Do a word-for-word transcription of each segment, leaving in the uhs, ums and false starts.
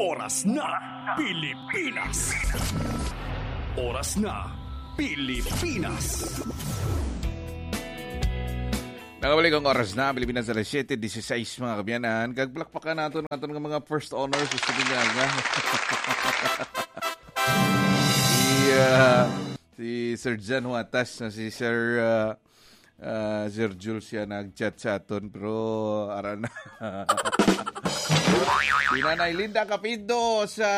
Oras na, Pilipinas. Oras na, Pilipinas. Nakabalik ang oras na, Pilipinas, alas siyete dieciséis, mga kaabyanan. Kag palakpakan naton ang aton nga mga first honors sa Silingaga. si, ah, si Sir Jan Huatas, na si Sir, ah, ah, Sir Jules siya nag-chat sa aton, pero ara na. Si Nanay Linda Capindo sa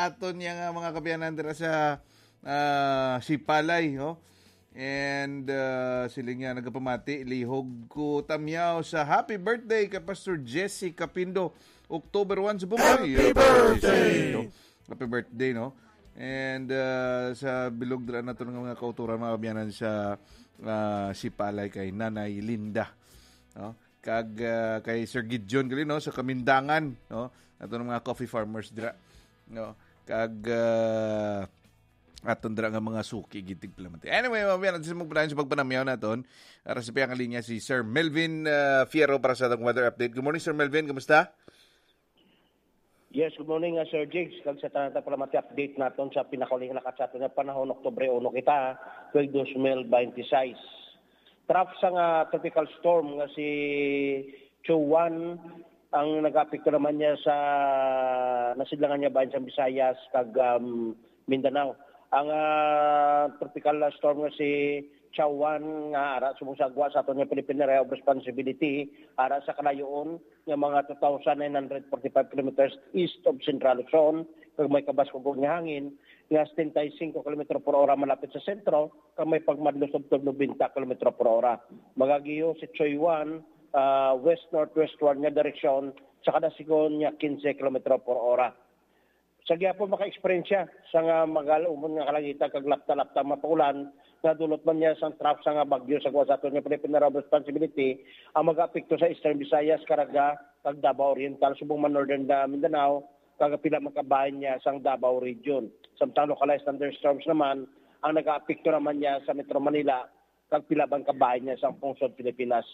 aton niya nga mga kaabyanan dira sa, ah, Sipalay, no? And, ah, sila nga nagapamati, lihog ko tamyaw sa happy birthday kay Pastor Jesse Capindo, October one sa Bumboy. Happy birthday! Happy birthday, no? And, ah, sa bilog dira naton nga mga kauturan, mga kaabyanan sa, ah, Sipalay kay Nanay Linda, no? Kag, ah, kay Sir Gideon gali, no, sa Kamindangan, no? Aton mga coffee farmers dira, no? Kag, ah, aton dira nga mga suki gid tigpalamati. Anyway, mga kaabyanan, sa magpadayon sa pagpanamyaw naton, ara sa piyang linya si Sir Melvin, ah, Fierro para sa atong weather update. Good morning, Sir Melvin. Kumusta? Yes, good morning, uh, Sir Jigs. Kag sa tanan, palamati, update naton sa pinakauli nga lakat sa aton nga panahon, Oktubre uno kita, tuig dos mil binte seis. Trough sang, uh, tropical storm nga si Chuan ang nag-apekto naman niya sa nasidlangan niya bahin sa Visayas kag, um, Mindanao. Ang, uh, tropical storm nga si Chuan nga ara subong sa gwa sa aton nga Philippine Area of Responsibility, ara sa kalayoon nga mga two thousand nine hundred forty-five kilometers east of Central Luzon, kag may kabas kag nga hangin nga setenta y cinco kilometro por ora malapit sa sentro, kag may pagmadlog sa tubtob noventa kilometro por ora. Magagiyo si Chuan, ah, west-northwestward nga direksyon sa kada sigon nga quince kilometro por ora. Sa gihapon maka-eksperyensya sa nga magal-umon nga kalangitan kag lapta-lapta nga mapaulan, nga dulot man niya sang trough sa nga bagyo sa kuwan sa aton nga Philippine Area of Responsibility, ang mag-apekto sa Eastern Visayas, Caraga, kag Davao Oriental, subong man Northern, ah, Mindanao, kag pila man kabahin niya sang Davao Region. Samtang localized thunderstorms naman ang nag-aapekto naman niya sa Metro Manila, kag pila man kabahin niya sang pungsod Pilipinas.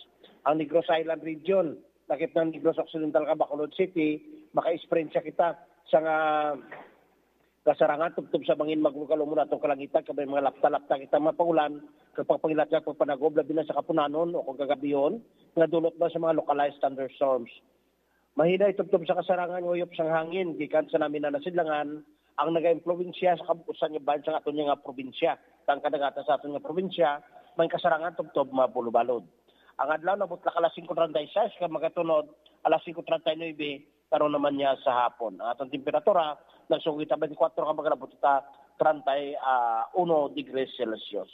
Ang Negros Island Region, lakip ng Negros Occidental kag Bacolod City, maka-eksperyensya kita sa nga kasarangan tubtob sa bangin maglugal-umon atong kalangitan, kag may mga lapta-lapta kita mapaulan, kag pagpangilat kag pagpanagob, labi na sa kapunanon o kag kagabihon, nga dulot man sa mga localized thunderstorms. Mahinay tubtob sa kasarangan nga uyop sang hangin gikan sa namin na nasidlangan ang nagaimpluwensya sa kabuusan nga bahin sang aton nga probinsya. Ang kadagatan sa aton nga probinsya may kasarangan tubtob mabulobalod. Ang adlaw nabutlak alas singko treinta y seis kag magatunod alas singko treinta y nuebe karon naman niya sa hapon. Ang atong temperatura nagsugod ta twenty-four ka magalabot ta treinta y uno degrees Celsius.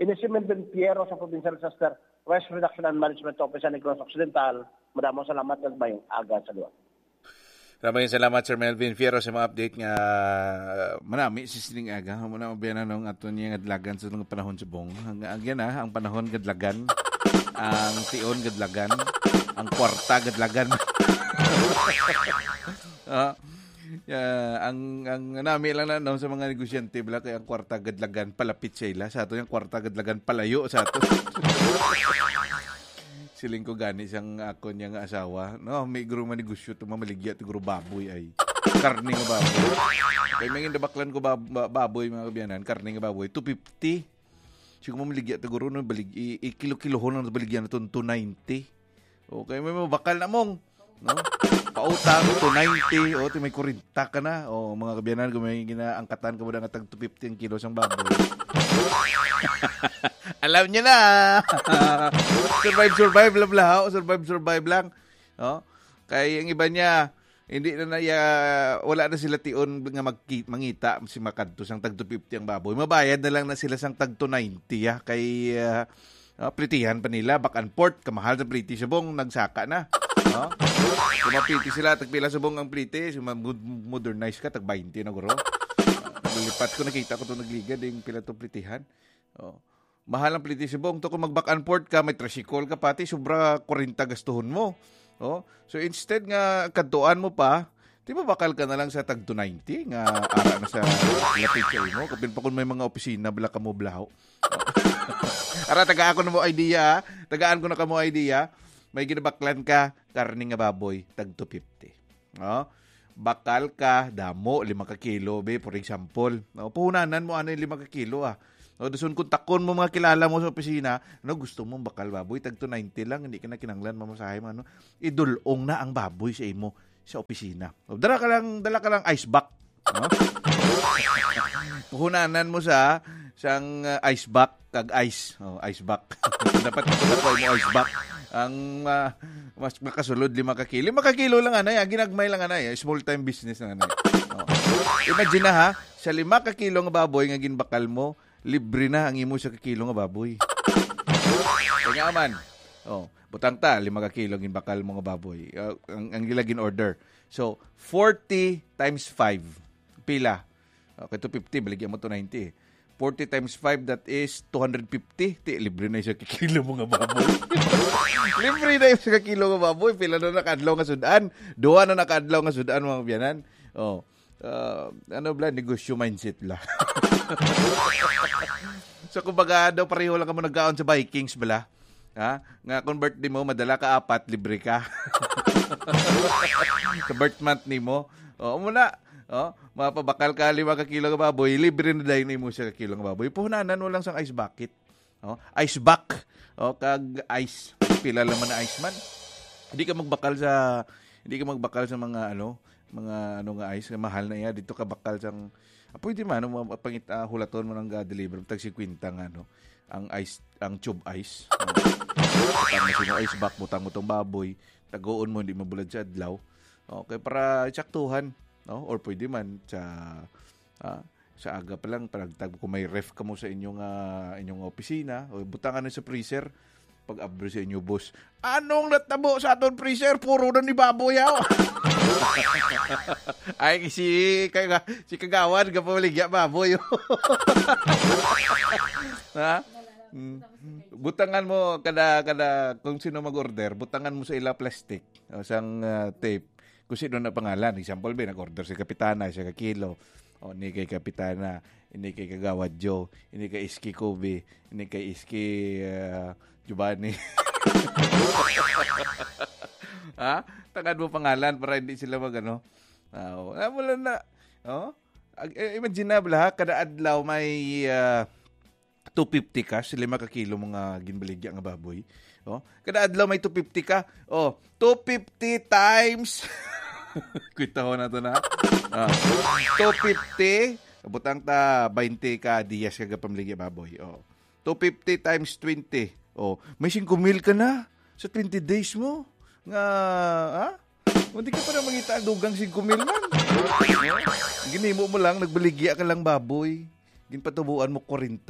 Ini si Melvin Piero sa Provincial Disaster Risk Reduction and Management Office sa Negros Occidental. Madamo salamat kag mayong aga sa liwat. Maraming salamat, Sir Melvin Fierro, sa mga update nga, uh, manami si sining aga. Muna mabiyanan ng aton niya nga dalagan sa mga panahon subong. Ang, ang yan, ah, ang panahon gadlagan, ang tion gadlagan, ang kwarta gadlagan. Ah, yeah, ang, ang nami lang na, no, sa mga negosyante, bala, kay ang kwarta gadlagan palapit sa ila. Sa ato yung kwarta gadlagan palayo sa ato. Siling ko gani sang akon niya nga asawa, no, may guro manegosyo to, mamaligya to guro baboy ay. Karne nga baboy. Kay may gindabaklan ko bab-, ba-, baboy, mga kabiyanan, karne nga baboy, two fifty. Siguro mamaligya to guro, no, balig, i-, i-kilo-kilohon lang baligyan naton two ninety. Okay, may mabakal na mong, no? Pautang, two ninety, o, ti may kwarenta ka na. O, mga kabiyanan, kung may ginaangkatan ka mo na nga tag two fifty ang kilo sang baboy. Alam niyo na. Survive, survive lang, bala, ha? Survive, survive lang. No? Kay ang iba niya, hindi na na, ya-, wala na sila tion nga magki-, mangita si makadto sang tag two fifty ang baboy. Mabayad na lang na sila sang tag two ninety, ya. Kay, ah, ah, plitihan pa nila, back and forth, kamahal sa pliti, subong nagsaka na. No? Kung mapliti sila, tagpila subong ang pliti, so, ma-, mod-, modernize ka, tag twenty na guro. Naglipat ko, nakita ko to nagligad, yung pila to plitihan. Oh. Mahal ang pliti subong to. Kung mag-back and forth ka, may tricycle ka pati, sobra kwarenta gastuhon mo. Oh. So instead nga kadtuan mo pa, di ba bakal ka na lang sa tag two ninety nga ara na sa lapit sa imo? Kapin pa kung may mga opisina, bala ka mo blaho. Ara, tagaan ko na mo idea, ha? Tagaan ko na ka mo idea. May ginabaklan ka, karne nga baboy, tag two fifty. Oh? bakal ka, damo, lima ka kilo, be, for example. No, puhunanan mo, ano yung lima ka kilo, ah. No, dason kontakon mo mga kilala mo sa opisina, no, gusto mo bakal baboy, tag two ninety lang, hindi ka na kinanglan mamasahe mo, ano. Idulong na ang baboy sa imo sa opisina. O, dala ka lang, dala ka lang ice box. No? Puhunanan mo sa sang uh, ice box kag ice. Oh, ice box. Dapat dapat mo ice box. Ang uh, mas makasulod lima ka kilo. Lima ka kilo lang anay, ah. Ginagmay lang anay. Small time business lang anay. Oh. Imagine na ha, sa lima ka kilo nga baboy nga ginbakal mo, libre na ang imo sa ka kilo nga baboy. Kaya man. Oh, butang ta, lima ka kilo ginbakal mo nga baboy. Uh, ang, ang ila gin-order. So, forty times five. Pila? Okay, two fifty, baligya mo two ninety. Forty times five, that is two hundred fifty. Ti, libre na isa ka kilo mo nga baboy. Libre na isa ka kilo nga baboy. Pila na nakadlaw nga sudan? Duha na nakadlaw nga sudan, mga biyanan. Oh. Uh, ano bla, negosyo mindset bla. So, kumbaga, daw pareho lang kamo nagkaon sa Vikings bla. Ha? Nga kung birthday mo, madala ka apat, libre ka. Sa birth month nimo. O, muna. O, mapabakal ka lima ka kilo nga baboy, libre na dahil nimo siya ka kilo nga baboy. Puhunanan mo lang sang ice bucket. O, ice buck. O, kag ice. Pila lang man na ice man. Hindi ka magbakal sa hindi ka magbakal sa mga ano, mga ano nga ice nga mahal na iya dito ka bakal sang ah, pwede man mo pangit uh, hulaton mo nang ga-deliver tag fifty nga ano ang ice ang tube ice. Butang mo sino ice back, butang mo tong baboy, tagoon mo hindi mabulad sa adlaw. Okay, para tsaktuhan, no? Or pwede man sa ah, sa aga pa lang panagtag kung may ref ka mo sa inyong ah, inyong opisina o butangan na sa freezer, pag abri sa inyo boss, anong natabo sa aton freezer? Puro na ni baboy yaw. Ay si kay si kagawad ka pamaligya baboy. Ha? Mm. Butangan mo kada kada kung sino mag-order, butangan mo sa ila plastic o sang uh, tape kung sino na pangalan. Example, be, nag-order si Kapitana, siya ka kilo. O, ni kay Kapitana, ini kay Kagawad Joe, ini kay Iski Kobe, ini kay Iski uh, Giovanni. Ha? Tagad mo pangalan para hindi sila mag ano. Uh, wala na. Oh? Imagine na, bala, kada adlaw may uh, two fifty ka sa lima ka kilo mo nga ginbaligya nga baboy. Oh, kada adlaw may two fifty ka. Oh, two fifty times Kwitahon nato na. Ah, two fifty, butang ta twenty ka diyas ka pamligya baboy. Oh. Two fifty times twenty. Oh, may singko mil ka na sa twenty days mo. Nga, ha? Hindi ka pa na mangita ang dugang singko mil man. Ginimo mo lang, nagbaligya ka lang baboy. Ginpatubuan mo forty.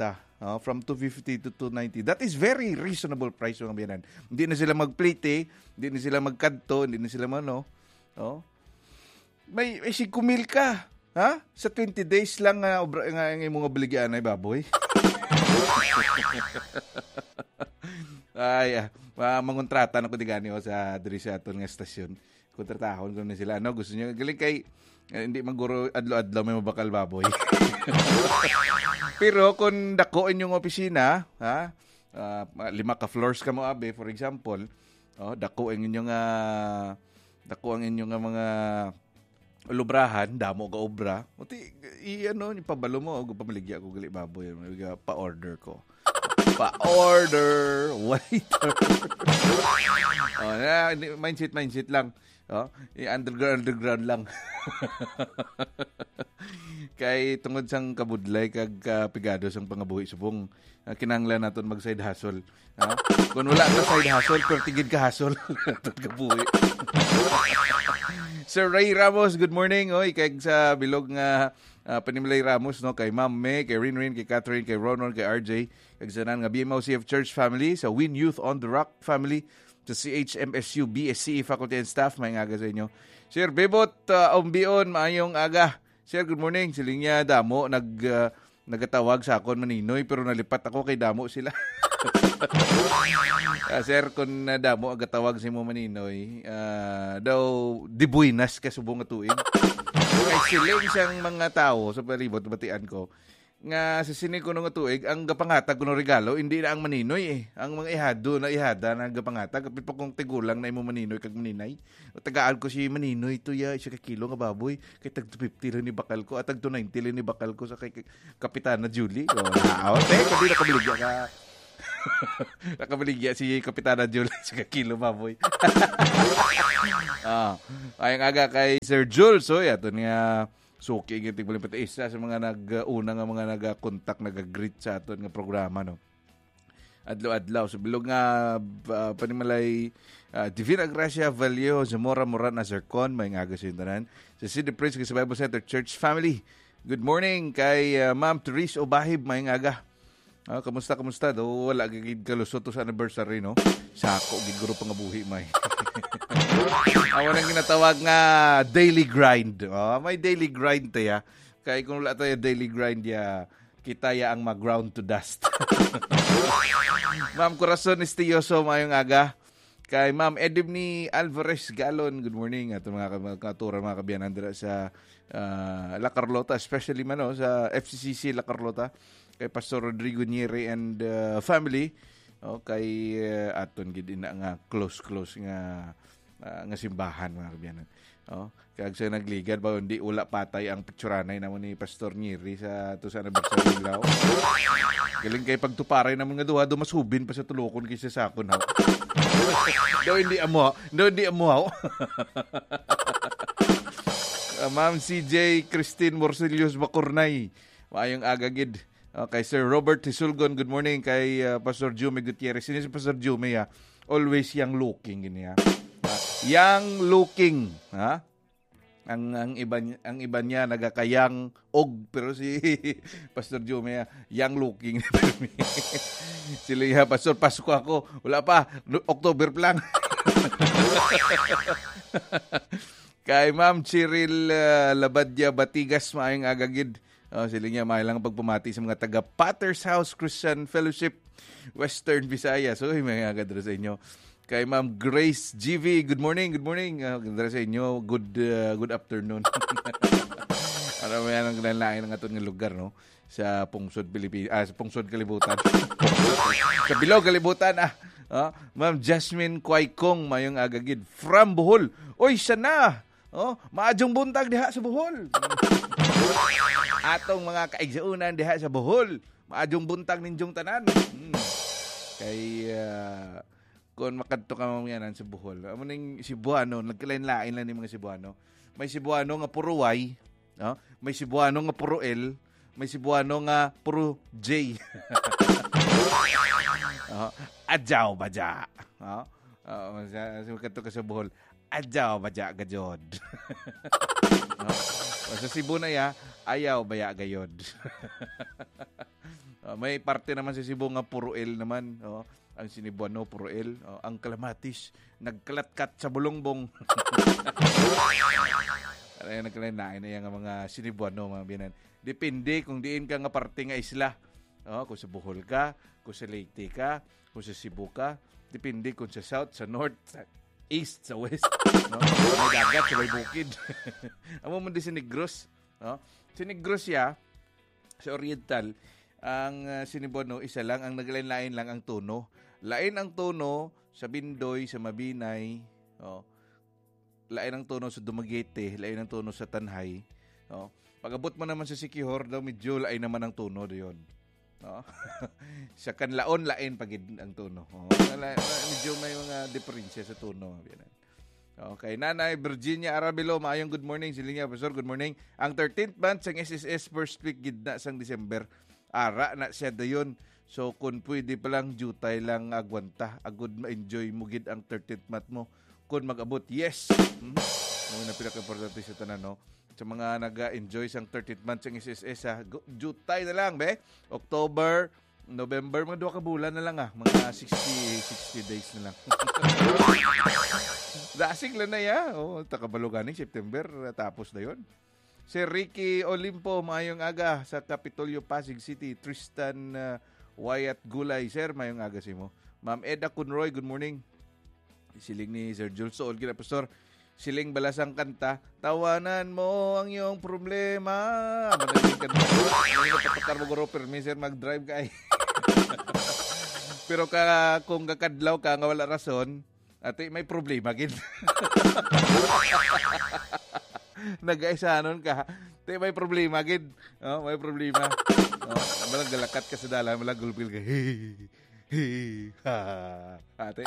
Ah, from two fifty to two ninety. That is very reasonable price, mga biyanan. Hindi na sila magplete, hindi na sila magkadto, hindi na sila mano. Oh. May, may singko mil ka, ha? Sa twenty days lang nga, obra, nga, nga imong obligaan ay baboy. Ay, ah, ma- mangontrata na ko di gani, oh, sa diri sa aton nga estasyon. Kontratahon ko na sila, no? Gusto niyo galing kay eh, hindi man guro adlaw-adlaw may mabakal baboy. Pero kung dako inyong opisina, ha? Ah, lima ka floors ka mo, abi, for example, oh, dako ang inyong ah, dako ang inyong ah, mga lubrahan, damo ka obra. Uti, i ano, ipabalo mo, og pamaligya ko gali baboy, pa-order ko. Pa-order, waiter. Oh, na, hindi, mindset, mindset lang. Oh, i-underground, underground lang. Kay tungod sang kabudlay kag kapigado sang pangabuhi subong, ah, kinahanglan naton mag side hustle. Ha? Kung wala ta side hustle, perti gid ka hustle. Aton kabuhi. Sir Ray Ramos, good morning. Oy, kag sa bilog nga ah, Panimlay Ramos, no, kay Ma'am May, kay Rinrin, kay Catherine, kay Ronon, kay R J, kag sa tanan nga B M O C F Church family, sa Win Youth on the Rock family, sa C H M S U, B S C E faculty and staff, may ngaga sa inyo. Sir Bebot, ah, Umbion, maayong aga. Sir, good morning. Siling niya, damo, nag, ah, nagatawag sa akon maninoy, pero nalipat ako kay damo sila. Ah, sir, kung nadamo ang gatawag sa imo maninoy, ah, daw dibuinas ka subong nga tuig. Kay siling sang mga tawo sa palibot, batian ko, nga sa sini kuno nga tuig, ang gapangatag kuno regalo, hindi na ang maninoy eh. Ang mga ihado na ihada na gapangatag, kapit pa kung tigulang na imo maninoy kag maninay. O, tagaan ko si maninoy to ya, isa ka kilo nga baboy. Kay tag two fifty lang ni bakal ko, at tag two ninety lang ni bakal ko sa kay, kay Kapitana Julie. O, naaw, te, kundi nakabaligya ka. Nakabaligya si Kapitana Julie sa kakilo baboy. Ah, ay nga aga kay Sir Jules, oy, ato niya suki gyud tigbaling pati isa sa mga nag-una nga mga nag-contact, nag-greet sa aton nga programa, no. Adlaw-adlaw sa bilog nga, ah, panimalay, ah, Divina Gracia Vallejo, Zamora Moran, Azarcon, may nga aga sa inyo tanan. Sa City Prince, sa Bible Center Church family. Good morning kay, ah, Ma'am Therese Obahib, may nga aga. Ah, kamusta, kamusta? Do, wala gid kalusot to sa anniversary, no? Sako gid guro pangabuhi, may. Amo nang ginatawag nga daily grind. Oh, may daily grind tayo. Kay kung wala tayo daily grind, ya, kita ya ang mag-ground to dust. Ma'am Corazon Estioso, mayong aga. Kay Ma'am Edimni Alvarez Galon, good morning. Ato mga ka-, mga katuran, mga kabiyanan dira sa, ah, La Carlota, especially man, no, sa F C C C La Carlota. Kay Pastor Rodrigo Nieri and, ah, family. O, kay, ah, aton gid ina nga close, close nga, ah, nga simbahan, mga kabiyanan. O, kag sa nagligad ba, hindi, wala patay ang picturanay namo ni Pastor Nieri sa, to sa anniversary nila. Galing kay pagtuparay naman nga duha, do mas hubin pa sa tulokon kaysa sa akon, ha? Do hindi amo, do hindi amo, ha? Ah, Ma'am C J Christine Morcillos Bacurnay. Maayong aga gid. Okay, Sir Robert Hisulgon, good morning kay, ah, Pastor Jumie Gutierrez. Sino si Pastor Jumie, ah? Always young looking, gini, ah. Ah, young looking, ha? Ang, ang iba ni-, ang iba niya nagakayang og, pero si Pastor Jumie, ah, young looking. Sila nga, "Pastor, Pasko ako." Wala pa, no, October pa lang. Kay Ma'am Cheryl, ah, Labadia Batigas, maayong aga gid. Oh, sila niya, may lang pagpamati sa mga taga Potter's House Christian Fellowship, Western Visayas. Uy, may aga dira sa inyo. Kay Ma'am Grace G V, good morning, good morning. Ah, dira sa inyo, good, ah, good afternoon. Ano mo yan ang kinalain ng aton nga lugar, no? Sa pungsod Pilipi-, ah, sa pungsod kalibutan. Sa bilog kalibutan, ah. Ah, Ma'am Jasmine Kuaykong, mayong aga gid. From Bohol. Oy, sana! Oh, maadjong buntag diha sa Bohol. Atong mga kaigsuonan diha sa Bohol, maadjong buntag ninjong tanan. Hmm. Kay, ah, kung makadto ka mamayanan sa Bohol, amo ning Cebuano, nagkalain-lain lang ni mga Cebuano. May Cebuano nga puro Y, no? May Cebuano nga puro L, may Cebuano nga puro J. Oh, adyaw ba dya? Oh, oh, sa, sa makadto ka sa Bohol, adyaw ba dya gajod? Oh, sa Cebu na ya, ayaw ba ya gayod? Oh, may parte naman sa Cebu nga puro L naman, oh. Ang Sinibuano, puro L. Oh, ang Kalamatis, nagkalatkat sa bulungbong. Ano yan, nagkalain-lain na yan nga mga Sinibuano, mga biyanan. Depende kung diin ka nga parte nga isla. Oh, kung sa Bohol ka, kung sa Leyte ka, kung sa Cebu ka. Depende kung sa south, sa north, sa east, sa west. No? May dagat, sa may bukid. Amo man di si Negros. No? Si Negros ya, sa Oriental, ang, ah, Sinibuano, isa lang, ang naglain-lain lang ang tono. Lain ang tono sa Bindoy, sa Mabinay, oh. Lain ang tono sa Dumaguete, lain ang tono sa Tanjay, oh. Pag-abot mo naman sa Siquijor daw, medyo lain naman ang tono doon. No? Sa Canlaon, lain pa gid ang tono. Oh, wala, medyo may mga diferensya sa tono, mga biyanan. Okay, Nanay Virginia Arabilo, maayong good morning. Sila niya, Pastor, good morning. Ang thirteenth month sang S S S, first week gid na sang December. Ara na siya dayon. So, kung pwede pa lang, jutay lang agwanta. Agud ma-enjoy mo gid ang thirteenth month mo. Kung mag-abot, yes. Mhm. Mao na pinaka-importante sa tanan, no? Sa mga naga-enjoy sang thirteenth month sang S S S, ha, gu-, jutay na lang, be. October, November, mga duha ka bulan na lang, ah. Mga sixty, sixty days na lang. Dasig lang na, ya. Oh, takabalo ganing September, ah, tapos na yon. Sir Ricky Olimpo, maayong aga sa Kapitolyo, Pasig City. Tristan, ah, Wyatt Gulay, sir, maayong aga sa imo. Ma'am Eda Conroy, good morning. Siling ni Sir Jules, suol gid, Pastor. Siling bala sang kanta, "Tawanan mo ang iyong problema." Madali ka na. Ano yung patakar mo, guro? Permi, sir, mag-drive ka, ay. Pero ka, kung kakadlaw ka nga wala rason, ate, may problema, gid. Nagaisanon ka. Te, may problema, gid. Oh, may problema. Oh, malang galakat ka sa dalan, malang gulpil ka. Hey, ha. Ate,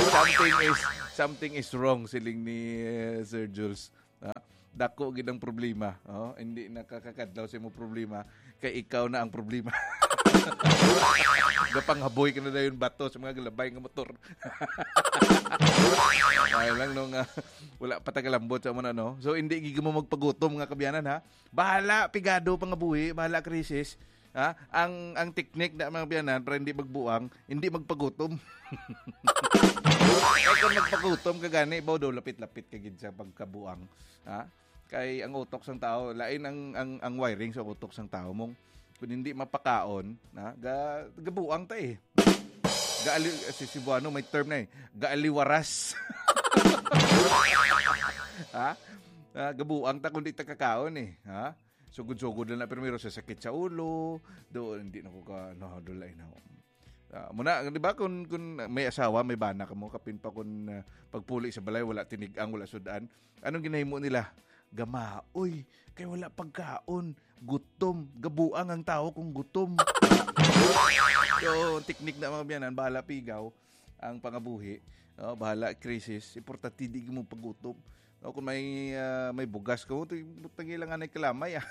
something is, something is wrong, siling ni, eh, Sir Jules. Ha? Dako gid ang problema. Oh, hindi nakakakadlaw sa imong problema, kay ikaw na ang problema. Gapanghaboy ka na dayon bato sa mga galabay nga motor. Ay lang nung, ah, wala pa tagalambot sa muna, no? So, hindi gid mo magpagutom, nga kaabyanan, ha? Bahala, pigado, pangabuhi, bahala, krisis. Ha? Ang, ang teknik na, mga kaabyanan, para hindi magbuang, hindi magpagutom. Kay kung magpagutom ka gani, baw daw lapit-lapit ka gid sa pagkabuang. Ha? Kay ang utok sang tao, lain ang, ang, ang wiring sa utok sang tao mong kung hindi mapakaon, na, ga, gabuang ta, eh. Gaali, si Cebuano may term na, eh. Gaaliwaras. Ha? Ah, gabuang ta kung di ta kakaon, eh. Ha? Sugod-sugod lang na primero sa sakit sa ulo, do, hindi na ko ka, no, do, lain na. Ah, muna, di ba, kung, kung may asawa, may bana ka mo, kapin pa kung, ah, pagpuli sa balay, wala tinigang, wala sudan. Anong ginahimo nila? Gama, uy, kay wala pagkaon, gutom, gabuang ang tao kung gutom. So, ang teknik na, mga biyanan, bahala pigaw ang pangabuhi. Oh, bahala krisis, importante di mo pagutom. O kung may, ah, may bugas ka mo, ito yung butang ilang anay kalamay, ah.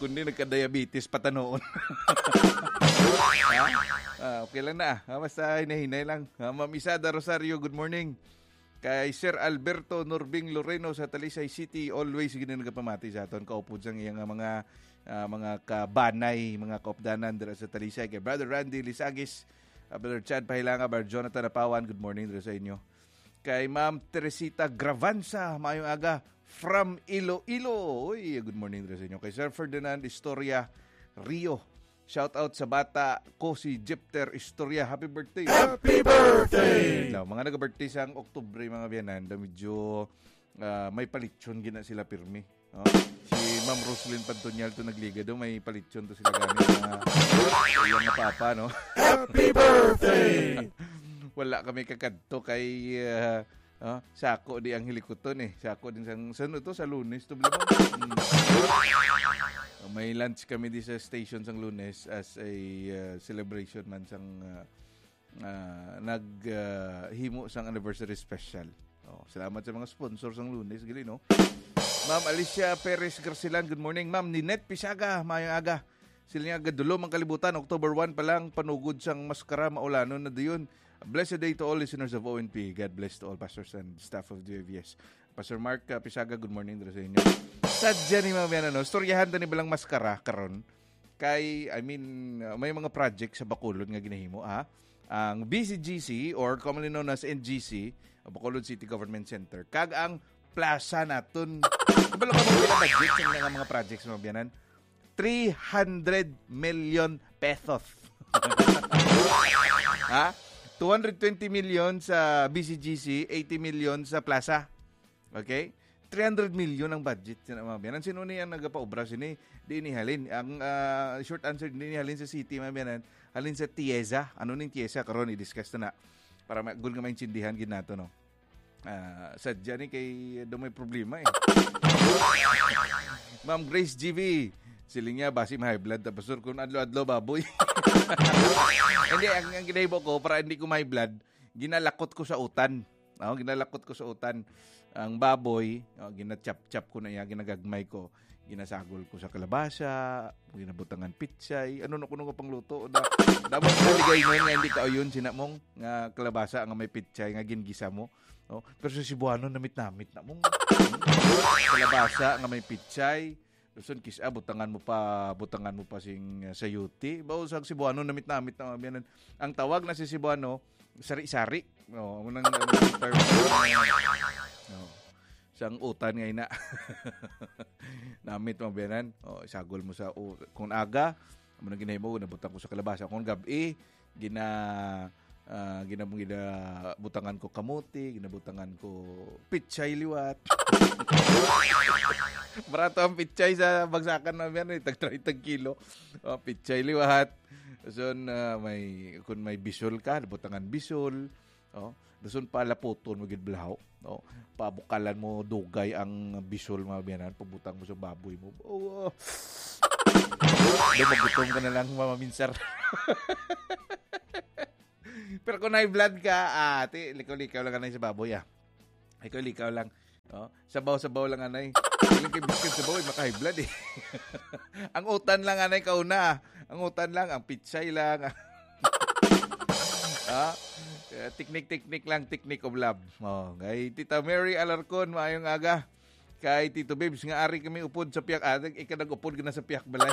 Kundi nagka-diabetes pa tanoon. Ha? Ah, okay lang na, ah. Ah, basta hinay-hinay lang. Ah, Ma'am Isada Rosario, good morning. Kay Sir Alberto Norbing Loreno sa Talisay City, always gid na nagapamati sa aton. Kaupod sang iyang mga, ah, mga kabanay, mga kaupdanan dira sa Talisay. Kay Brother Randy Lisagis, ah, Brother Chad Pahilanga, Brother Jonathan Apawan, good morning dira sa inyo. Kay Ma'am Teresita Gravanza, maayong aga from Iloilo. Uy, good morning dira sa inyo. Kay Sir Ferdinand Historia Rio, shout out sa bata ko si Jepter Historia. Happy birthday. Happy birthday! Now, mga nag-birthday sang Oktubre, mga biyanan, da medyo, ah, may palitson gina sila pirmi. Oh, si Ma'am Roslyn Pantonial to nagliga do, may palitson to sila gani nga sa iyang nga papa, no? Happy birthday! Wala kami kakadto kay, ah, ah, sako di ang hilikuton, eh. Sako din sang, sa ano to? Sa Lunes to, bala mo? Mm. May lunch kami di sa station sang Lunes as a, ah, celebration man sang, ah, ah, nag, ah, himo sang anniversary special. Oh, salamat sa mga sponsor sang Lunes, gali, no? Ma'am Alicia Perez Garcilan, good morning. Ma'am Ninette Pisaga, maayong aga. Sila nga gadulom ang kalibutan, October one pa lang, panugod sang maskara, maulanon na dayon. A blessed day to all listeners of O N P. God bless to all pastors and staff of the W V S. Pastor Mark, ah, Pisaga, good morning dira sa inyo. Sadya ni, mga biyanan, no? Storyahan ta ni balang maskara karon. Kay, I mean, uh, may mga project sa Bacolod nga ginahimo, ha? Ang B C G C, or commonly known as N G C, ang Bacolod City Government Center, kag ang plaza naton. Kabalo ka mo pila budget sa mga, mga projects, mga biyanan? Three hundred million pesos. Ha? Two hundred twenty million sa B C G C, eighty million sa plaza. Okay? Three hundred million ang budget sa mga biyanan. Sino ni ang nagapaobra sini? Di ni halin. Ang, ah, short answer, di ni halin sa city, mga biyanan. Halin sa TIEZA. Ano ning TIEZA? Karon, i-discuss na na. Para ma-, gul nga maintindihan gid nato, no? Ah, sadya ni kay do may problema, eh. Ma'am Grace G V, siling niya, basi ma-high blood ta, Pastor, kung adlaw-adlaw baboy. Hindi, ang, ang ginahimo ko, para hindi ko ma-high blood, ginalakot ko sa utan. Oh, ginalakot ko sa utan. Ang baboy, oh, ginachap-chap ko na iya, ginagagmay ko. Ginasagol ko sa kalabasa, ginabutangan pitsay. Ano na kuno nga pangluto? Da-, dapat na ligay nun nga hindi kauyon, sina mong nga kalabasa nga may pitsay nga gingisa mo. Oh, pero sa Cebuano, namit-namit na mong kalabasa nga may pitsay. Luson kis-, ah, butangan mo pa, butangan mo pa sing, ah, sayote. Bawo sa Cebuano, namit-namit na mga biyanan. Ang tawag na si Cebuano, sari-sari. Oh, amo nang, amo nang term. Oh. Sang utan nga ina. Namit mga biyanan. Oh, isagol mo sa u-, kung aga, amo nang ginahimo, nabutang ko sa kalabasa. Kung gab-i, gina-, Ah, ginab-, ginabutangan ko kamote, ginabutangan ko pichay liwat. Barato ang pichay sa bagsakan na yan, eh, tag treinta kilo. Oh, pichay liwat. So, na may, kung may bisol ka, butangan bisol. Oh, dason palaputon mo gid blaho. Oh, pabukalan mo dugay ang bisol, mga biyanan, pabutang mo sa baboy mo. Oh, oh. Daw magutom ka na lang, Mama Minsar. Pero kung high blood ka, ah, ti, likaw-likaw lang anay sa baboy, ah. Likaw-likaw lang. Oh, sabaw-sabaw lang anay. Ilang kay biscuit sabaw, eh, maka-high blood, eh. Ang utan lang anay kauna. Ang utan lang, ang pichay lang. Ah, eh, teknik-teknik lang, technique of love. Oh, kay Tita Mary Alarcon, maayong aga. Kay Tito Bibs, nga ari kami upod sa piyak. Ah, ikaw nag-upod ka na sa piyak balay.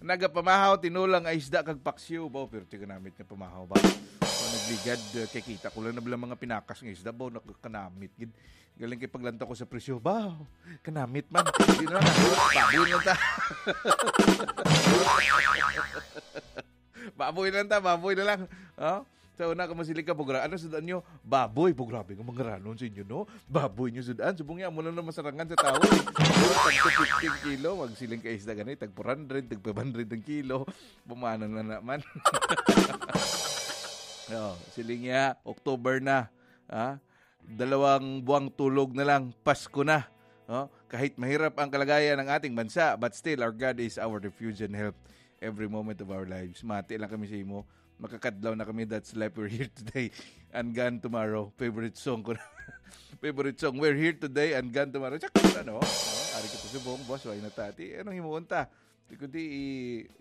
Nagapamahaw, tinulang nga isda kag paksiw. Baw, pero ti kanamit nga pamahaw ba? O, nagligad, uh, kay kita ko lang na bala mga pinakas nga isda. Baw, nakakanamit gid. Galing kay paglantaw ko sa presyo. Baw, kanamit man. Di na lang. Baboy lang ta. Baboy lang ta, baboy na lang. Oh? Sa una ka masiling ka, bugra, ano sa daan nyo? Baboy, po, grabe nga mga ranon sa inyo, no? Baboy nyo sa daan. Subong niya, amo na masarangan sa tao, eh. Tag fifteen kilo, magsiling ka isda gani, tag four hundred, tag five hundred ang kilo. Bumanang na naman. Oh, siling niya, October na. Ha? Dalawang buwang tulog na lang, Pasko na. Oh, kahit mahirap ang kalagayan ng ating bansa, but still, our God is our refuge and help every moment of our lives. Mati lang kami sa imo. Makakadlaw na kami, that's life, we're here today and gone tomorrow. Favorite song ko na. Favorite song, we're here today and gone tomorrow. Tsaka ano, oh, ari ka to subong, boss, why na tati? Anong himuon ta? Di kundi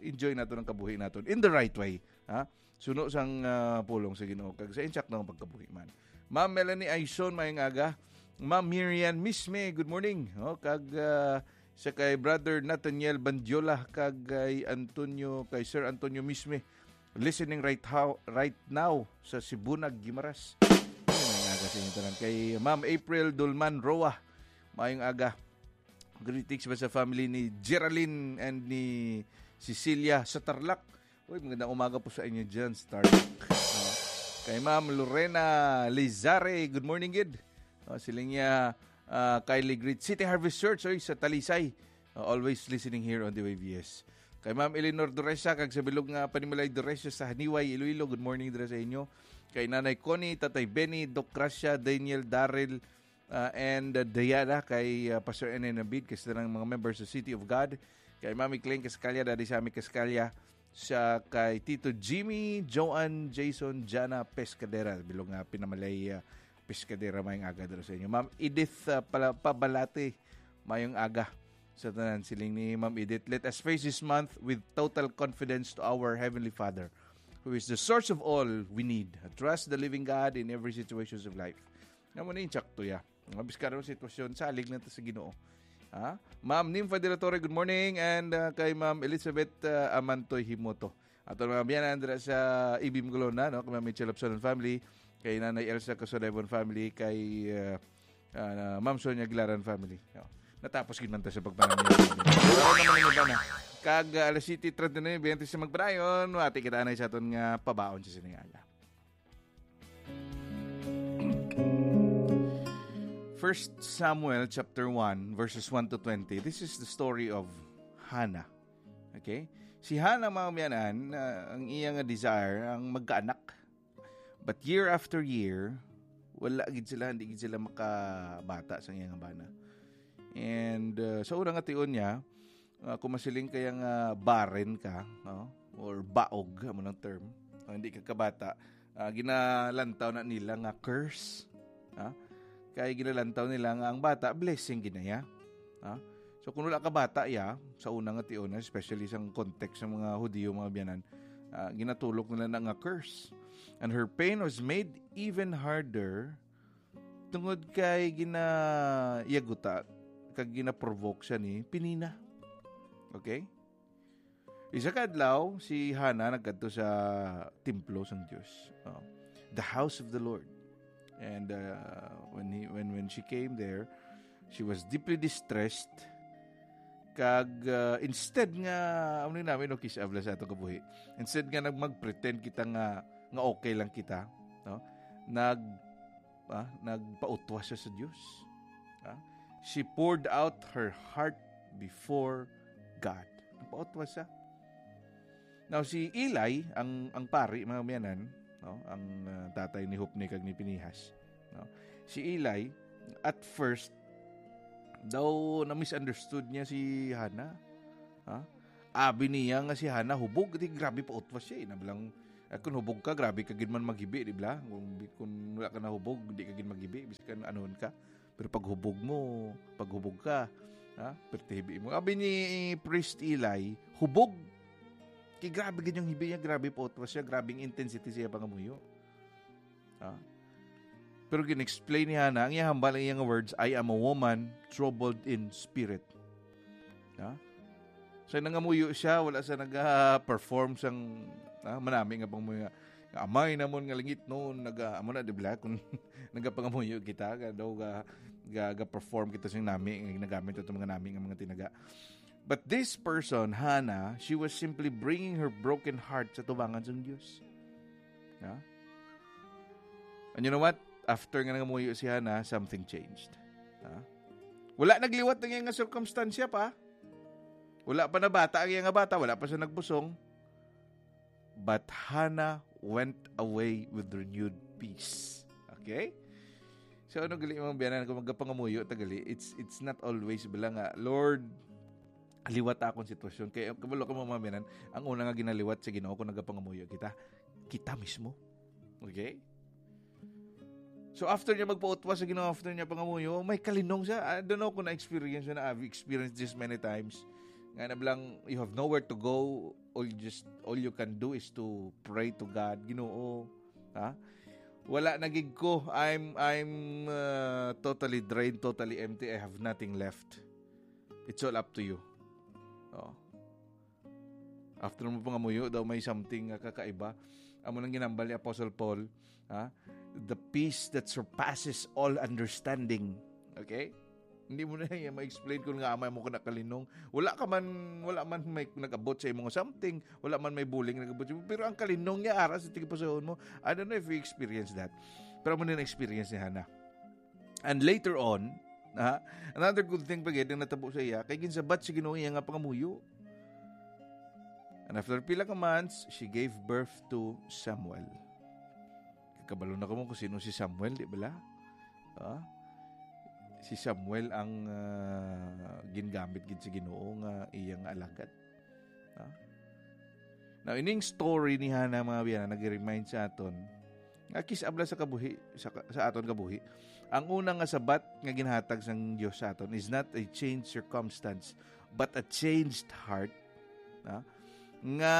i-enjoy nato ang kabuhi naton in the right way, ha? Suno sang, ah, pulong sa Ginoo kag sa insakto nga pagkabuhi man. Ma'am Melanie Aison, maayong aga. Ma'am Miriam Misme, good morning. Oh, kag, ah, sa kay Brother Nathaniel Bandiola kag kay Antonio, kay Sir Antonio Misme, listening right how, right now sa Sibunag, Guimaras. Ayun, maayong aga sa inyo tanan. Kay Ma'am April Dulman Roa, maayong aga. Greetings ba sa family ni Geraldine and ni Cecilia sa Tarlac? Uy, magandang umaga po sa inyo dyan sa Tarlac. Oh. Kay Ma'am Lorena Lizare, good morning, gid. Oh, siling niya, ah, Kylie, greet City Harvest Church, oy, sa Talisay. Oh, always listening here on the W V S. Kay Ma'am Eleanor Doresa, kag sa bilog nga panimalay Doresa sa Haniway, Iloilo, good morning dira sa inyo. Kay Nanay Connie, Tatay Benny, Doc Gracia, Daniel, Daryl, ah, and, ah, Diana, kay, ah, Pastor N N Abid, kay sa tanan mga members sa City of God, kay Mami Cleng Cascalia, Daddy Sammy Cascalia, sa kay Tito Jimmy, Joan, Jason, Jana Pescadera, bilog nga pinamalay, ah, Pescadera, maayong aga dira sa inyo. Ma'am Edith, ah, pala, Pabalate, maayong aga sa tanan. Siling ni Ma'am Edith, let us face this month with total confidence to our Heavenly Father, who is the source of all we need. Trust the living God in every situations of life. Nga mo na yung tsakto, ya. Nga biskar ang sitwasyon, salig na ta sa Ginoo. Ha? Ma'am Nympha de la Torre, good morning. And, uh, kay Ma'am Elizabeth, uh, Amantoy Himoto. Ato mga biyanan dira sa Ibim Colonna, no? Kay Ma'am Mitchell Lobson and family, kay Nanay Elsa Casadevon family, kay, uh, uh, Ma'am Sonia Aguilaran family. No? Natapos gid man ta sa pagpanamit. Pero naman ang iba na. Kag, uh, alas siyete treinta na yung biyente sa magpadayon, wati kita anay sa aton nga pabaon sa sining aga. First Samuel chapter one, verses one to twenty. This is the story of Hannah. Okay? Si Hannah, mga miyanan, ah, ang iya nga desire ang magkaanak. But year after year, wala gid sila, hindi gid sila makabata sa iyang bana. And, uh, sa una nga tion niya, uh, kung masiling kaya nga barren ka, no? Or baog, amo nang term, o hindi ka kabata, uh, ginalantaw na nila nga curse. Ha? Kay ginalantaw nila nga ang bata, blessing gid na ya. Ha? So, kung wala ka bata ya, sa una nga tion, especially sa context sa mga Hudiyo, mga biyanan, ah, ginatulok nila na nga curse. And her pain was made even harder tungod kay ginayaguta kag ginaprovoke siya ni Penina. Okay? Isa ka adlaw, si Hannah nagkadto sa templo sang Dios, oh, the house of the Lord. And, uh, when he, when, when she came there, she was deeply distressed Kag, ah, instead nga, ano ni namin, no, kiss abla sa atong kabuhi. Instead nga nag-, mag-pretend kita nga, nga okay lang kita, no? Nag-, ah, nagpautwas siya sa Dios. Ah? She poured out her heart before God. Nagpautwas siya. Now, si Eli, ang, ang pari, mga miyanan, no? Ang, ah, tatay ni Hophni kag ni Pinehas, no? Si Eli, at first, daw na-misunderstood niya si Hana. Ha? Abi niya nga si Hana hubog, di grabe pa utwas siya, eh. Nabilang, eh, kung hubog ka, grabe ka gid man maghibi, di ba? Kung, kung wala ka na hubog, di ka gid maghibi, biskan anuhon ka. Pero pag hubog mo, pag hubog ka, ha? Perti hibi mo. Abi ni Priest Eli, hubog. Kay grabe gid yung hibi niya, grabe pa utwas siya, grabe ang intensity siya pangamuyo. Ha? Pero gin-explain ni Hana, ang iyang hambal, ang iyang words, "I am a woman troubled in spirit." Ha? So, nangamuyo siya, wala siya naga-perform sang, ah, manami nga pangamuyo nga, "Amay namon nga langitnon," naga, amo na, di ba? Kung nagapangamuyo kita, ka daw ga, ga, ga-perform kita sing nami, nga ginagamit ato mga nami nga mga tinaga. But this person, Hannah, she was simply bringing her broken heart sa tubangan sang Dios. Ha? And you know what? After nga nangamuyo si Hannah, something changed. Ha? Wala nagliwat ang iyang nga sirkumstansya pa. Wala pa nabata ang iyang nga bata, wala pa siya nagbusong. But Hannah went away with renewed peace. Okay? So, ano gali, mga biyanan, kung magapangamuyo ta gali, it's, it's not always bala nga, "Lord, liwat akong sitwasyon." Kay, kabalo ka, mga biyanan, ang una nga ginaliwat sa Ginoo kung nagapangamuyo kita, kita mismo. Okay? So, after niya magpautwas sa Ginoo, after niya pangamuyo, may kalinong siya. I don't know kung na-experience niya na, I've experienced this many times. Nga na blang, you have nowhere to go. All you just, all you can do is to pray to God. "Ginoo, ha? Wala na gid ko. I'm, I'm, uh, totally drained, totally empty. I have nothing left. It's all up to you." Oh. After mo pangamuyo daw, may something nga kakaiba. Amo nang ginambal ni Apostle Paul, ha? "The peace that surpasses all understanding." Okay? Hindi mo na iya ma-explain kung nga amay mo ka nakalinong. Wala ka man, wala man may nag-abot sa imo nga something, wala man may buling nag-abot sa imo, pero ang kalinong niya ara sa tigipusoon mo. I don't know if you experience that. Pero amo na experience ni Hannah. And later on, ha, another good thing pa gid ang natabo sa iya, kay ginsabat sa Ginoo iya nga pangamuyo. And after pila ka months, she gave birth to Samuel. Kabalo na kamo kung sino si Samuel, di bala? Ha? Si Samuel ang, ah, gingamit gid sa Ginoo nga iyang alagad. Ha? Now, ining story ni Hannah, mga biyanan, nag-remind sa aton nga kis-, abla sa kabuhi, sa ka-, sa aton kabuhi, ang una nga sabat nga ginhatag sang Dios sa aton is not a changed circumstance, but a changed heart, ha? Nga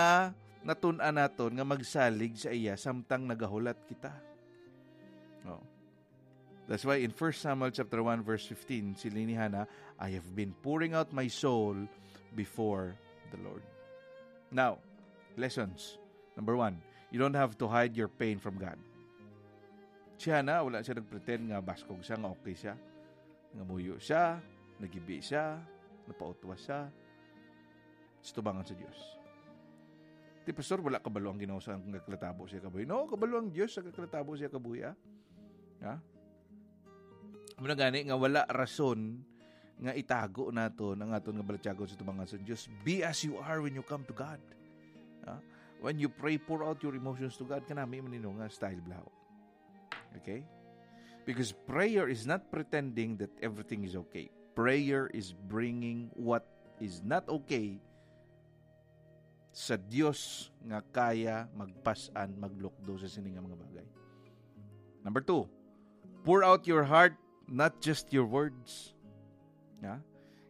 natun-an naton nga magsalig sa iya samtang nagahulat kita. Oh. That's why in First Samuel chapter one verse fifteen, siling ni Hannah, "I have been pouring out my soul before the Lord." Now, lessons. Number one, you don't have to hide your pain from God. Si Hannah, wala siya nagpretend nga baskog siya, nga okay siya. Nangamuyo siya, nagibi siya, napautwas siya sa tubangan sa Dios. Ti, "Pastor, wala kabalo ang Ginoo sa nagkatabo siya kabuhi." No, kabalo ang Dios sa nagkatabo siya kabuhi, ah. Ha? Muna gani nga wala rason nga itago naton ang aton nga balatyagon sa tubangan sa Dios. Be as you are when you come to God. Ha? When you pray, pour out your emotions to God. Kanami man nino nga style, blaho. Okay? Because prayer is not pretending that everything is okay. Prayer is bringing what is not okay sa Dios nga kaya magpas-an, maglukdo sa sini nga mga bagay. Number two, pour out your heart, not just your words. Ha?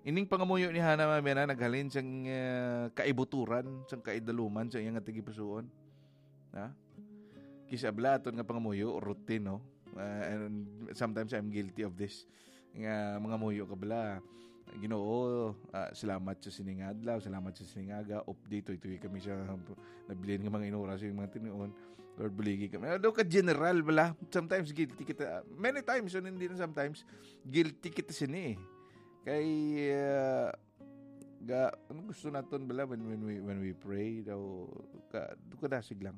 Ining pangamuyo ni Hannah, mga biyanan, naghalin sang, eh, kaibuturan, sang kaidaluman sa iyang nga tagipusoon. Ha? Kis-, abla aton nga pangamuyo, routine, no? Uh, and sometimes I'm guilty of this. Nga mangamuyo ka bala, "Ginoo, ah, salamat sa sining adlaw, salamat sa sining aga, update, tuytoy kami sa nabilin nga mga inura sa mga tinuon. Lord, buligi kami." Ano ka general bala? Sometimes guilty kita. Many times, so hindi na sometimes, guilty kita sini, eh. Kay, ah, Ga, ano gusto naton bala when, when we, when we pray? Daw, ka, kadasig lang.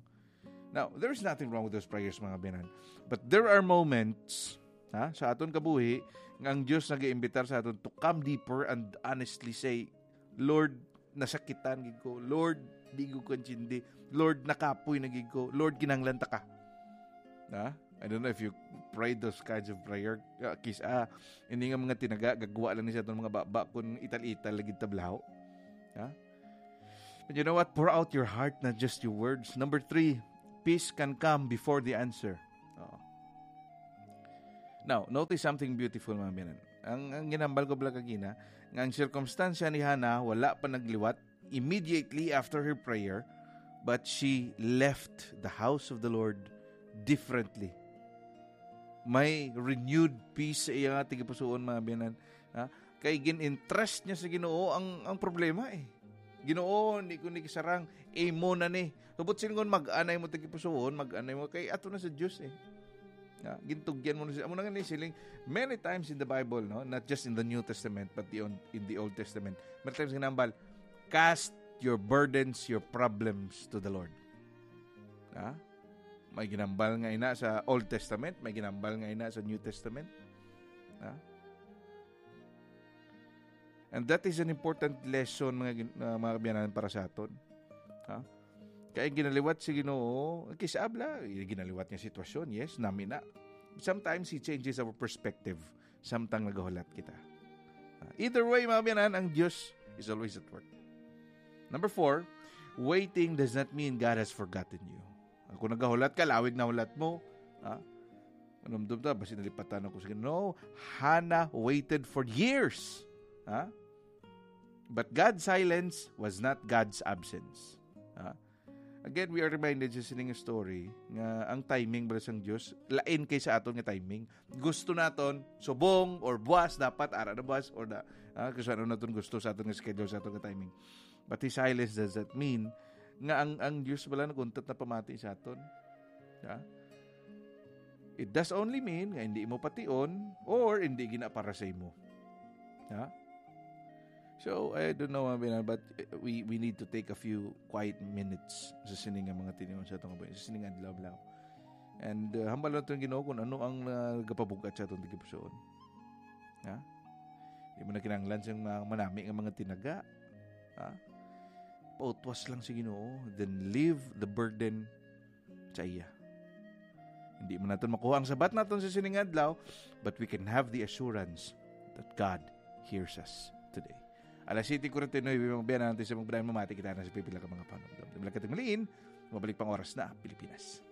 Now, there's nothing wrong with those prayers, mga biyanan. But there are moments, ha, sa aton kabuhi, nga ang Dios nag-iimbitar sa aton to come deeper and honestly say, "Lord, nasakitan gid ko. Lord, di ko kaintindi. Lord, nakapoy na gid ko. Lord, kinahanglan ta ka." Ha? I don't know if you prayed those kinds of prayer. Ah, kis-, ah, ini nga mga tinaga, gagwa lang ni sa atong mga baba kung ital-ital lagi tablaho. Ha? But you know what? Pour out your heart, not just your words. Number three, peace can come before the answer. Oo. Now, notice something beautiful, mga biyanan. Ang, ang ginambal ko bala kagina, nga ang sirkumstansya ni Hannah wala pa nagliwat immediately after her prayer, but she left the house of the Lord differently. May renewed peace sa iya nga tagipusoon, mga biyanan. Ha? Kay gin-entrust niya sa Ginoo ang, ang problema, eh. "Ginoo, hindi ko ni kasarang, imo na ni." Subot silingon, mag-anay mo tagipusoon, mag-anay mo kay ato na sa Dios, eh. Nga, gintugyan mo na siya. Amo na nga ni siling, many times in the Bible, no? Not just in the New Testament, but the on-, in the Old Testament. Many times ginambal, "Cast your burdens, your problems to the Lord." Ha? May ginambal nga ina sa Old Testament, may ginambal nga ina sa New Testament. Ha? And that is an important lesson, mga gin-, uh, mga kabiyanan, para sa aton. Ha? Kaya ginaliwat si Ginoo, kis-a bala, ginaliwat niya sitwasyon, yes, nami na. Sometimes He changes our perspective samtang nagahulat kita. Uh, either way, mga kabiyanan, ang Dios is always at work. Number four, waiting does not mean God has forgotten you. Kung nagahulat ka, lawig na hulat mo, ha? Manumdom ta, basi nalipatan ako sa Ginoo. No, Hannah waited for years. Ha? But God's silence was not God's absence. Ha? Again, we are reminded sa sining story nga ang timing bala sang Dios lain kay sa aton nga timing. Gusto naton subong or buwas, dapat ara na buwas or da, ah, kung sa ano naton gusto sa aton nga schedule, sa aton nga timing. But His silence does that mean nga ang, ang Dios bala naguntat na pamati sa aton? Ha? It does only mean nga hindi mo pation or hindi gina para sa imo. Ha? So, I don't know, mga biyanan, but, eh, we, we need to take a few quiet minutes sa sini nga mga tinion sa atong kabuhi, sa sini nga adlaw-adlaw. And, uh, hambal naton ang Ginoo kung ano ang, uh, nagapabug-at sa atong tagipusoon. Ha? Di mo na kinahanglan siyang mga manami nga mga tinaga. Ha? Pautwas lang sa Ginoo, then leave the burden sa iya. Hindi man naton makuha ang sabat naton sa sining adlaw, but we can have the assurance that God hears us today. Alas siyete kuwarenta y nuebe, mga biyanan, antes sa mga biyanan, mamati kita na sa pipila ka mga panumdom. Dumi lang ka tigmaliin, mabalik pang oras na Pilipinas.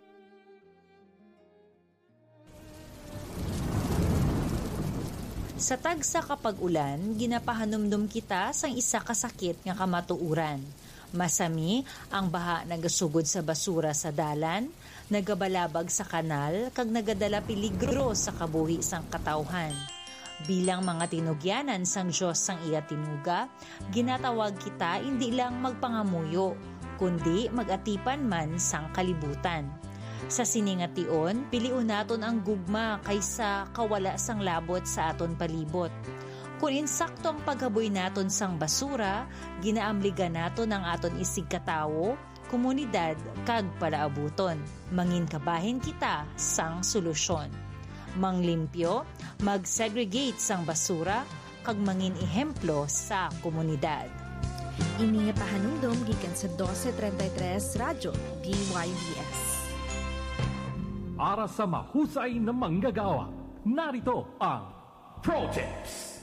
Sa tagsa ka pag-ulan, ginapahanumdom kita sang isa ka sakit nga kamatuoran. Masami, ang baha nagasugod sa basura sa dalan, nagabalabag sa kanal, kag nagadala peligro sa kabuhi sang katawhan. Bilang mga tinugyanan sang Dios sang iya tinuga, ginatawag kita indi lang magpangamuyo, kundi mag-atipan man sang kalibutan. Sa sini nga tion, pilion naton ang gugma kaysa kawala sang labot sa aton palibot. Kon insakto ang paghaboy naton sang basura, ginaamligan naton ang aton isigkatawo, komunidad, kag palaabuton. Mangin kabahin kita sang solusyon. Manglimpyo, mag-segregate sang basura, kag mangin ehemplo sa komunidad. Ini nga pahanumdom gikan sa doce treinta y tres Radyo D Y B S. Para sa mahusay na manggagawa, narito ang Pro Tips.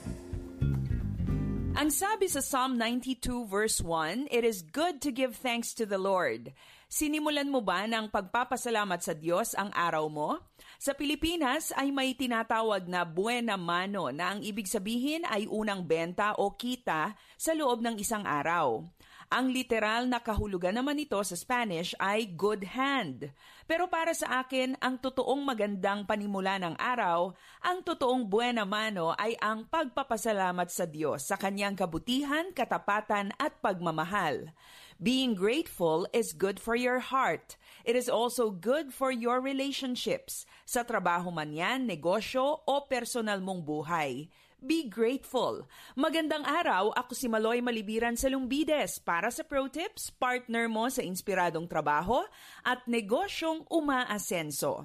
Ang sabi sa Psalm ninety-two verse one, "It is good to give thanks to the Lord." Sinimulan mo ba ng pagpapasalamat sa Diyos ang araw mo? Sa Pilipinas ay may tinatawag na buena mano, na ang ibig sabihin ay unang benta o kita sa loob ng isang araw. Ang literal na kahulugan naman nito sa Spanish ay good hand. Pero para sa akin, ang totoong magandang panimula ng araw, ang totoong buena mano ay ang pagpapasalamat sa Diyos sa kanyang kabutihan, katapatan, at pagmamahal. Being grateful is good for your heart. It is also good for your relationships, sa trabaho man yan, negosyo, o personal mong buhay. Be grateful. Magandang araw, ako si Maloy Malibiran sa Lumbides para sa Pro Tips, partner mo sa inspiradong trabaho at negosyong umaasenso.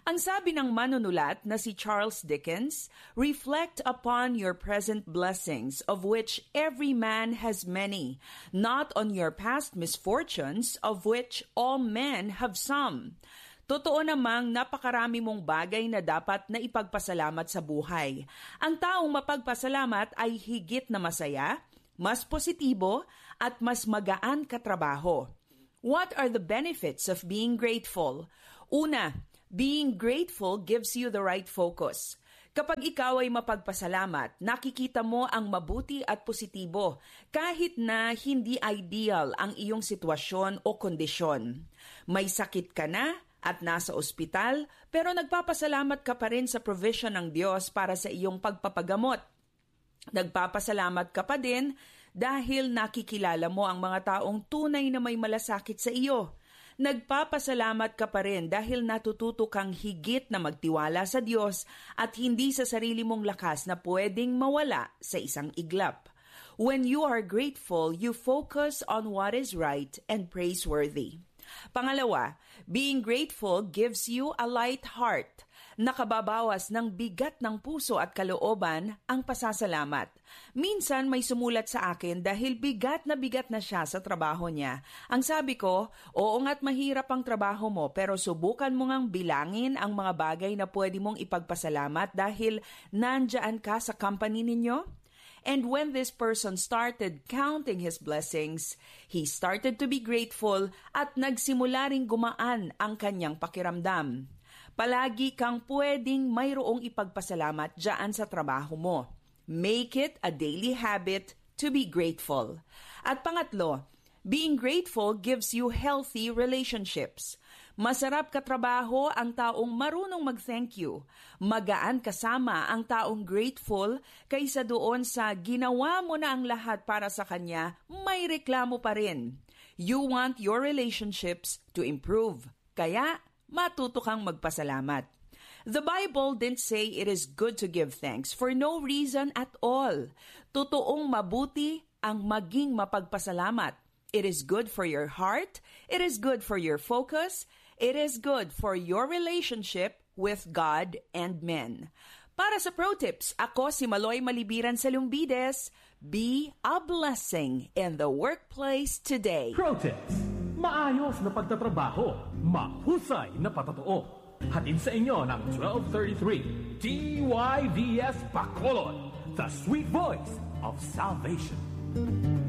Ang sabi ng manunulat na si Charles Dickens, "Reflect upon your present blessings, of which every man has many, not on your past misfortunes, of which all men have some." Totoo namang napakarami mong bagay na dapat na ipagpasalamat sa buhay. Ang taong mapagpasalamat ay higit na masaya, mas positibo, at mas magaan katrabaho. What are the benefits of being grateful? Una, being grateful gives you the right focus. Kapag ikaw ay mapagpasalamat, nakikita mo ang mabuti at positibo, kahit na hindi ideal ang iyong sitwasyon o kondisyon. May sakit ka na at nasa ospital, pero nagpapasalamat ka pa rin sa provision ng Diyos para sa iyong pagpapagamot. Nagpapasalamat ka pa din dahil nakikilala mo ang mga taong tunay na may malasakit sa iyo. Nagpapasalamat ka pa rin dahil natututo kang higit na magtiwala sa Diyos at hindi sa sarili mong lakas na pwedeng mawala sa isang iglap. When you are grateful, you focus on what is right and praiseworthy. Pangalawa, being grateful gives you a light heart. Nakababawas ng bigat ng puso at kalooban ang pasasalamat. Minsan may sumulat sa akin dahil bigat na bigat na siya sa trabaho niya. Ang sabi ko, "Oo nga't mahirap ang trabaho mo, pero subukan mo ngang bilangin ang mga bagay na pwede mong ipagpasalamat dahil nandyan ka sa company ninyo." And when this person started counting his blessings, he started to be grateful at nagsimula ring gumaan ang kanyang pakiramdam. Palagi kang pwedeng mayroong ipagpasalamat dyan sa trabaho mo. Make it a daily habit to be grateful. At pangatlo, being grateful gives you healthy relationships. Masarap katrabaho ang taong marunong mag-thank you. Magaan kasama ang taong grateful kaysa doon sa ginawa mo na ang lahat para sa kanya, may reklamo pa rin. You want your relationships to improve. Kaya, matuto kang magpasalamat. The Bible didn't say it is good to give thanks for no reason at all. Totoong mabuti ang maging mapagpasalamat. It is good for your heart, it is good for your focus, it is good for your relationship with God and men. Para sa Pro Tips, ako si Maloy Malibiran sa Lumbides. Be a blessing in the workplace today. Pro Tips. Maayos na pagtatrabaho, mahusay na patotoo. Hatid sa inyo ng twelve thirty-three D Y V S Bacolod, the sweet voice of salvation.